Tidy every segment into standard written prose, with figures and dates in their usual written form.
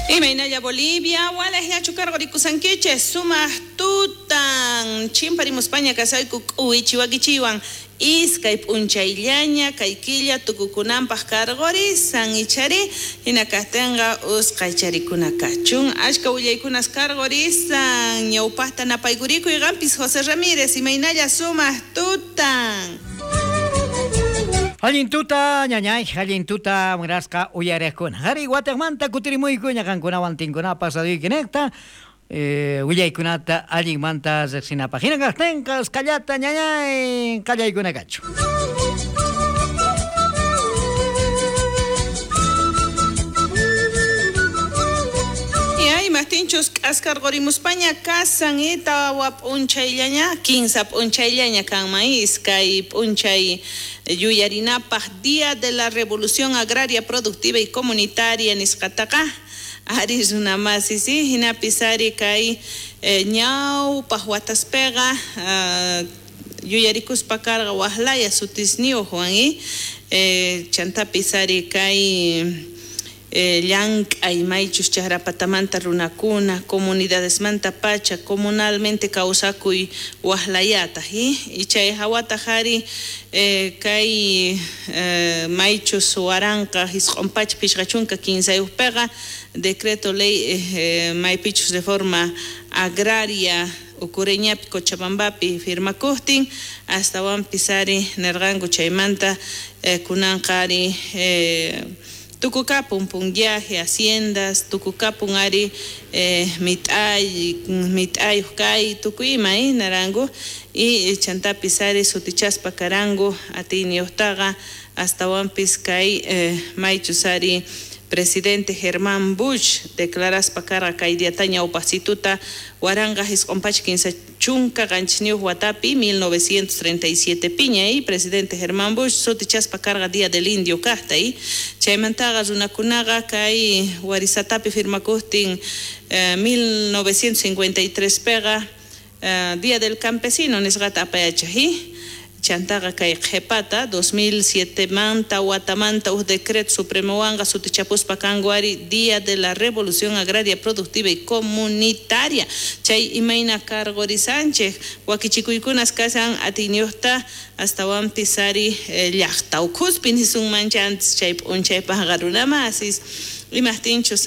Imaynalla Bolivia, walejllachu karqurikusankichis, sumaq tutan chimparimuspaña kasayku k'uwichi wakichiwan iskay p'unchayllaña kay killa tukukunanpaq karqurisan ichari hina kaqtinqa usqay charikuna kachun ashka willaykunas karqurisan ñawpaqta napaykurikuy qampis José Ramírez imaynalla sumaq tutan. Allin tuta, ñañay, allin tuta, munasqa uyariqkuna. Qhari wataqmanta kutirimuykuña qankunawan tinkunapaq radioykinejta, willaykunata allinmanta riqsinapaq. Hina kaqtinqa usqhallata ñañay qallaykuna kachun. Imajtinchus k'askarqurimuspaña kasan tawa p'unchayllaña, 15 p'unchayllaña kanman iskay p'unchay yuyarinapaq Día de la Revolución Agraria Productiva y Comunitaria nisqataqa ari runamasi si hinapis ari kay ñawpaq wataspeqa yuyarikuspa karqa waqlaya sutisniyuqwan chantapis ari kay llank'ay maychus chaqrapatamanta runakuna comunidadesmanta pacha comunalmente kawsakuy waqlayataq y chay hawataq ari kay maychus waranqa isq'un pacha pishqa chunka kinsayuqpiqa decreto ley maypichus reforma agraria Ucureñapi Cochabambapi firmakuqtin astawanpis ari nirqanku chaymanta kunanqa ari tukukapun punllaje, haciendas, tukukapun ari mit'ayuq kay tukuy ima naranku y chantapis ari sutichaspa karanku atiyniyuqtaqa astawanpis kay maychus ari presidente Germán Busch declaraspa karqa kay diata ñawpaqsituta waranqa isq'un pacha kinsa chunka qanchisniyuq watapi 1937 piña y presidente Germán Busch sutichaspa karqa Día del Indio kaqta y chaymantaqa runakunaqa kay warisatapi firmakuqtin 1953 piqa Día del Campesino nisqata apayachaq y chantaqa kay qhepata 2007 manta watamanta uj decreto supremowanqa sutichapuspa kanku ari Día de la Revolución Agraria Productiva y Comunitaria chay imayna karqurisanchik wakichikuykunas kasan atiyniyuqta astawanpis ari llaqta ukhuspi nisunmancha antes chay p'unchaypaqqa runamasis imajtinchus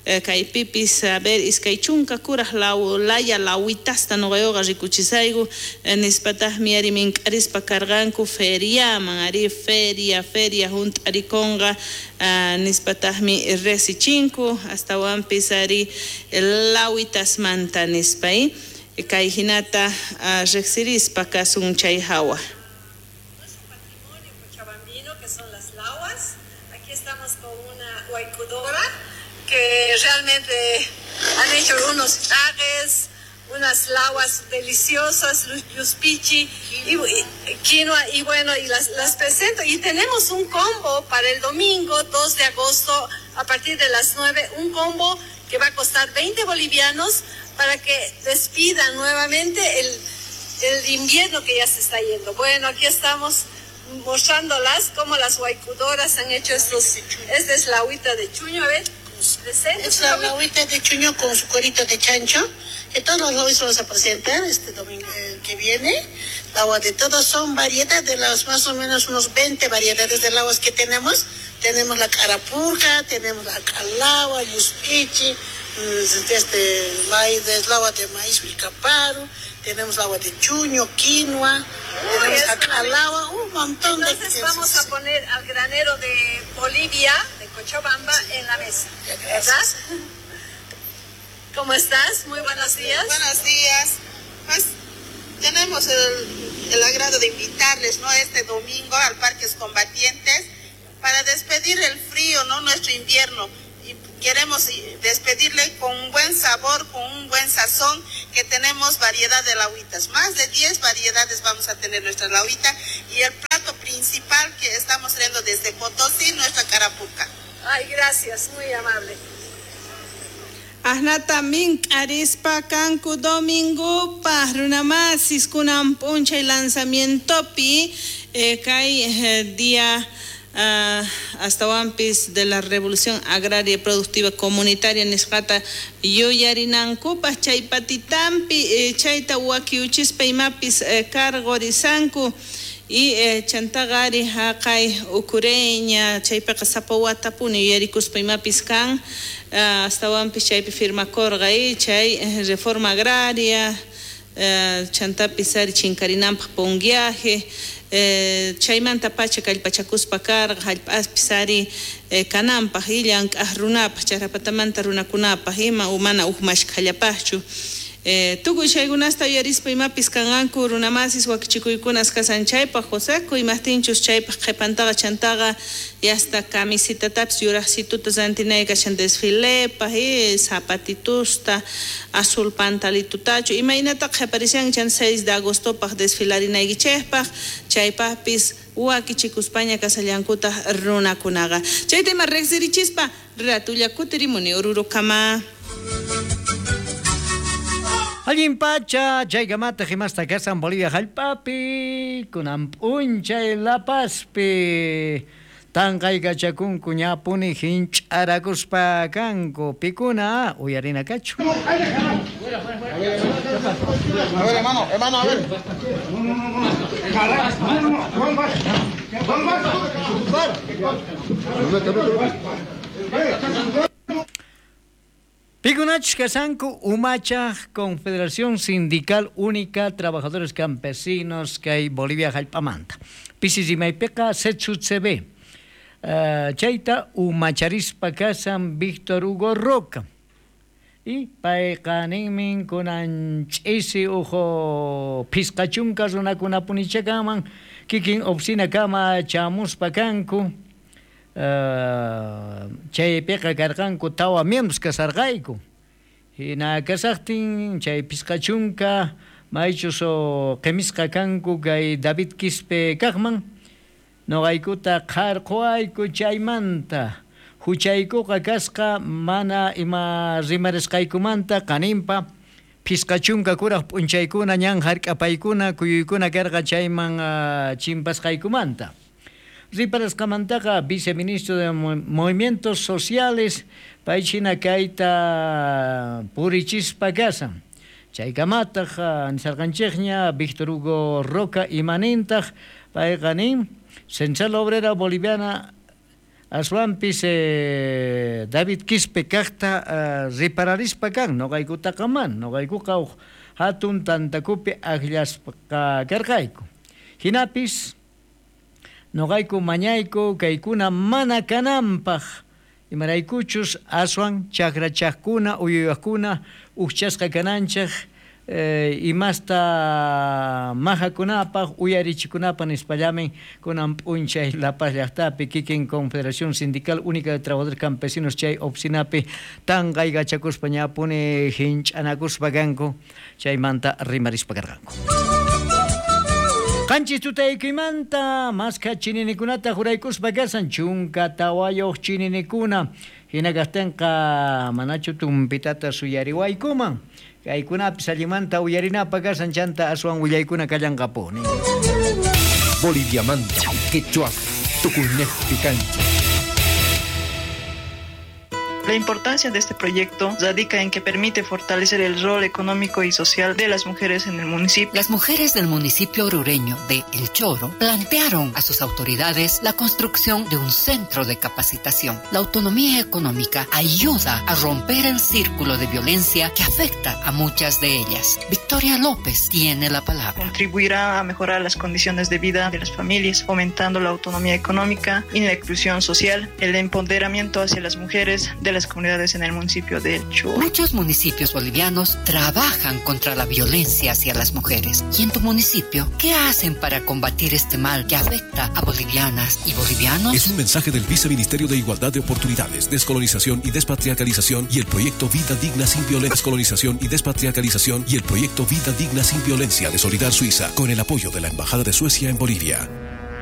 kaypipis a ver iskay chunka kuraj laya lawitasta nuqayuqa rikuchisayku nispataqmi ari mink'arispa karqanku feriaman ari feria feria hunt'arikunqa nispataqmi resichinku astawanpis ari lawitasmanta nispa kay hinata riqsirispa kasun chay hawa. Nuestro patrimonio cochabambino que son las lawas. Aquí estamos con una huaycudora que realmente han hecho unos trajes, unas lawas deliciosas, yuspichi y quinoa, y bueno, y las presento. Y tenemos un combo para el domingo 2 de agosto a partir de las 9, un combo que va a costar 20 bolivianos para que despidan nuevamente el invierno que ya se está yendo. Bueno, aquí estamos mostrándolas cómo las huaycudoras han hecho estos. Esta es la agüita de chuño, a ver. Es la agüita de chuño con su cuerito de chancho, que todos los lobbies vamos a presentar este domingo que viene. El agua de todos son variedades de las más o menos unos 20 variedades de aguas que tenemos. Tenemos la carapurca, tenemos la calagua, yuspichi, maíz, el agua de maíz vilcaparo, tenemos agua de chuño, quinoa, tenemos la calagua, un montón. Entonces de vamos a poner al granero de Bolivia, de Cochabamba, en la mesa, ¿verdad? ¿Cómo estás? Muy buenos días. Buenos días. Pues tenemos el agrado de invitarles, ¿no?, este domingo al Parques Combatientes para despedir el frío, ¿no?, nuestro invierno. Y queremos despedirle con un buen sabor, con un buen sazón, que tenemos variedad de lauitas. Más de 10 variedades vamos a tener nuestra lauita. Y el plato principal que estamos trayendo desde Potosí, nuestra carapuca. Ay, gracias, muy amable. Ahnata mink'arispa kanku domingopaj runamasis kunan p'unchay lanzamientopi kay día Astawanpis de la Revolución Agraria Productiva Comunitaria nisqata yuyarinankupaj chay patitampi chayta wakiuchispa imapis cargorisanku y chantaqa ari haqay ukureña chaypiqa sapa watapuni yuyarikuspa imapis kan astawanpis chaypi firmakurqa chay reforma agraria chantapis ari chinkarinanpaj ponguiaje chaymanta pacha kallpachakuspa karqa hallp'aspis ari kananpaj llank'aj runapaj charapatamanta runakunapaj ima mana uj mashkhallapajchu tukuy chaykunasta yuyarispa imapis kanqanku runamasis wakichikuykunas kasan chaypaj Joseco imajtinchus chaypaj qhipantaqa chantaqa yasta camisitatapis yuraqsituta rantinay kashan desfilepaj zapatitusta azul pantalitutachu imaynata qhiparishan chan 6 de agostopaj desfilarinaykichejpaj chaypajpis wakichikuspaña kasallankutaj runakunaqa chayta ima riqsirichispa ratulla kutirimuni Orurokama. Allin pacha, chaykamata himasta kasan Bolivia hallp'api, kunan p'unchay La Pazpi, tanqaykachakunku ñapuni hinch'arakuspa kanku, pikuna uyarina kachu. A ver, hermano, hermano, a ver. Pikunachus kasanku Umachaj Confederación Sindical Única Trabajadores Campesinos kay Bolivia hallp'amanta. Pisi rimaypiqa CETSUCB. Chayta umacharispa kasan Víctor Hugo Roca. Y payqa ninmin kunan ch'isi uhu phisqachunka runakunapunichakaman kikin oficina kama chamuspa kanku. Chaypiqa karqanku tawa miembros kasarqayku. Hina kasaqtin chay phisqachunka maychus qimisqa kanku kay David Quispe kaqman noqaykuta qharquwayku chaymanta huchaykuqa kasqa mana ima rimarisqaykumanta qaninpa phisqachunka kuraq p'unchaykuna ñan hark'apaykuna kuyuykuna karqa chayman chimpasqaykumanta. Riparasqamantaqa viceministro de Movimientos Sociales paychina kayta purichispa kasan. Chaykamataq nisarqanchikña Víctor Hugo Roca imanintaq payqa nin Central Obrera Boliviana aswanpis David Quispe kaqta ripararispa kan noqaykutaqa man noqaykuqa uj hatun tantakupi akllaspa karqayku. Hinapis noqayku mañayku kaykuna mana kananpaj imaraykuchus aswan chakrachaqkuna uyuyaqkuna ujchasqa kananchej imasta majakunapaj uyarichikunapaj nispallamin kunan p'unchay La Paz llaqtapi kikin Confederación Sindical Única de Trabajadores Campesinos chay oficinapi tanqaykachakuspa ñapuni hinch'anakuspa kanku chaymanta rimarispa karqanku. Qanchis tutaykuymanta maskha chininikunata juraykuspa kasan chunka tawayuq chininikuna hina kaqtinqa manachu tumpitata suyariwaykuman kaykunapis allimanta uyarinapa kasan chanta aswan willaykuna kallanqapuni. Boliviamanta quechua tukuynejpi kanchik. La importancia de este proyecto radica en que permite fortalecer el rol económico y social de las mujeres en el municipio. Las mujeres del municipio orureño de El Choro plantearon a sus autoridades la construcción de un centro de capacitación. La autonomía económica ayuda a romper el círculo de violencia que afecta a muchas de ellas. Victoria López tiene la palabra. Contribuirá a mejorar las condiciones de vida de las familias, fomentando la autonomía económica y la inclusión social, el empoderamiento hacia las mujeres de las comunidades en el municipio de El Choro. Muchos municipios bolivianos trabajan contra la violencia hacia las mujeres. ¿Y en tu municipio qué hacen para combatir este mal que afecta a bolivianas y bolivianos? Es un mensaje del Viceministerio de Igualdad de Oportunidades, Descolonización y Despatriarcalización y el proyecto Vida Digna Sin Violencia. Descolonización y Despatriarcalización y el proyecto Vida Digna Sin Violencia de Solidar Suiza, con el apoyo de la Embajada de Suecia en Bolivia.